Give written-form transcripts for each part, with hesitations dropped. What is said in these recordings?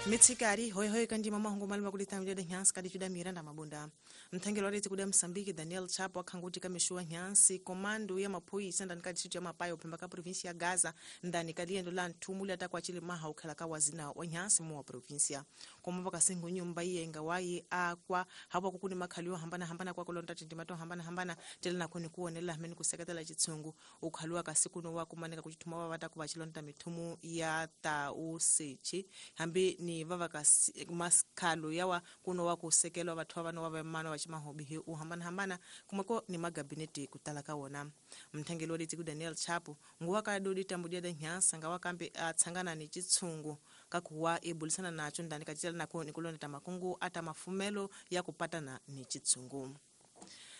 Mitsikari hoi hoi kanji mama hongo malima kulitambia de nyansi kadi juda Miranda Mabunda. Mthengelo wa kuda Msambiki Daniel Chapo akhanguti kamishua nyansi komando ya maphoyisa ndani ka district ya Mapayo phemba ka province ya Gaza ndani ka liendo la nthumuli atakwachile maha ukhala ka wazina wa nyansi mu wa provincia. Komba kasengo nyumba iyenga waye akwa hapo kukuni makhaliwa hambana hambana kwa kulonda tindimato hambana hambana tele na kuni kuonela hameni kuseketela chitsungu ukhaliwa kasikuno wa kumaneka kuchithuma wa vata kuvachilonda mithumu ya tausechi hambi ni vava maskalo yawa kuno wa kusekelwa vathu va vano va mano va chimahobi u hambana hambana kumako ni magabineti kutala ka wona. Mthengelo wa ku Daniel Chapo nguwa ka dodi tambudia da nyansa ngawa kambe atsangana ni chitsungu kakuwa ebulisana nacho ndani kachitela nako ni kulonda makungu ata mafumelo ya kupatana ni chitsungu.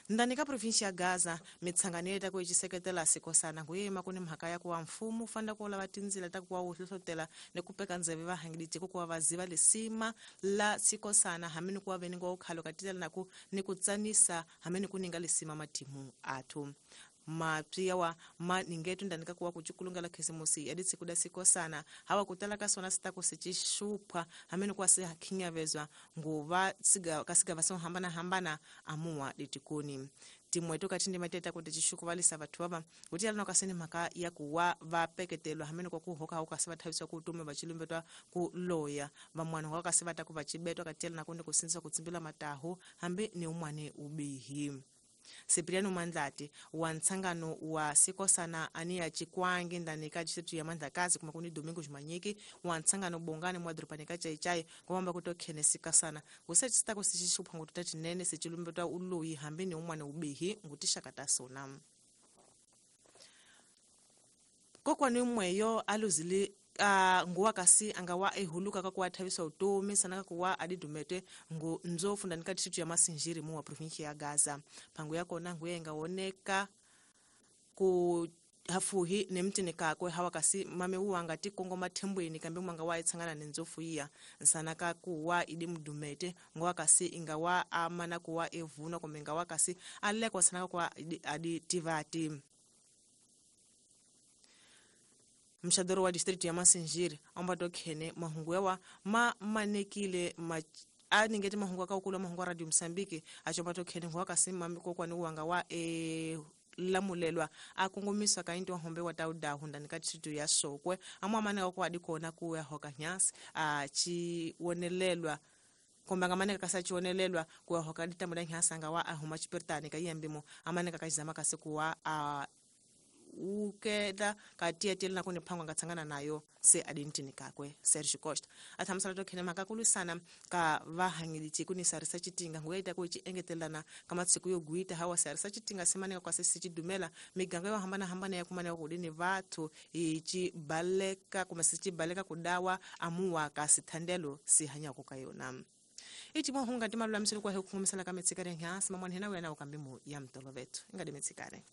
Ndani ka provinsi ya Gaza mitsangano yeta kuichiseketela sikosana nguyema kuni mhaka ya kuwa mfumo fanda kuola vatinzila ta kuwa uhlohlotela ni kupeka ndzeve vahangiliti kuwa vaziva lisima la sikosana hamini kuwa veningo ukhalo katitela naku ni kutsanisa hamini kuninga lisima matimu athu. Mapya ma ningetu ndani ka kuwa kuchukulungala khisimusi yaditsi kuda sikosana hawa kutala kasona sitako sichishupa hamini kuwa sihakhinyavezwa nguva kasiga vaso hambana hambana amuwa ditikuni. Timweto katindi mateta kuti chishukuvalisa vathu vava kuti alano kaseni mhaka ya kuwa vapeketelwa hamene kwa kuhoka hauka se vathaviswa kutume vachilumbetwa ku loya vamwana wa kasi vata ku vachibetwa katiyela nakundi kusinzisa kutsimbila matahu hambi ni umwane ubihi. Cipriano Mandlati wa ntsangano wa sikosana ania chikwangi ndani ka district ya Mandlakazi kuma kuni Domingo Jumanyiki wa ntsangano bongane mwa dropani ka chaichai kwamba kutokhene sikasana kusechita kusishupha ngutata chinene sichilumbetwa uloyi hambi ni umwane ubihi ngutishakata sona. Kokwani mweyo aluzili nguwa kasi angawa ehuluka kakuwa thaviswa utomi sana kakuwa adidumete ngu nzofu ndani ka district ya Masinjiri mu wa province ya Gaza. Pangu yako na nguye ingawoneka ku hafuhi ne mtini kakwe hawa kasi mame uwanga tikongo mathembweni kambe mwanga wa itsangana ne nzofu iya nsana kakuwa idi mdumete nguwa kasi ingawa amana kuwa evuna kumbe ingawa kasi alekwa sana kakuwa adi tivati. Mshadoro wa district ya Masinjiri ambato khene mahungu yawa ma manekile ma aningeti mahungu akakula mahungu Radio Msambiki achombato khene nguwa kasi mamiko kwani uwanga wa lamulelwa akungumiswa kainti wahombe wa taudahu ndani ka district ya Sokwe amwa maneka kwa adikona kuya hoka nyasi achiwonelelwa komba maneka kasa chionelelwa kuya hoka ditambuda nyasi anga wa ahuma chipertani kayambimo amaneka kachizama kasi kuwa ukeda katia tele na kunipangwa ngatsangana nayo se adintini kakwe Serge Costa athamsala to khene makakulu sana ka vahangiliti kunisarisa chitinga nguyaita kuchi engetelana kama tsiku yo guita hawa sarisa chitinga simaneka kwa sisi chidumela miganga yo hambana hambana ya kumana kudini vathu ichi baleka kuma sichi baleka kudawa amuwa kasithandelo sihanya kukayona. Ichi mwahunga timalula msulu kwa hukumisala kametsikare nyasi mamwanhena wena ukambimu ya mtolovetu ingadi metsikare.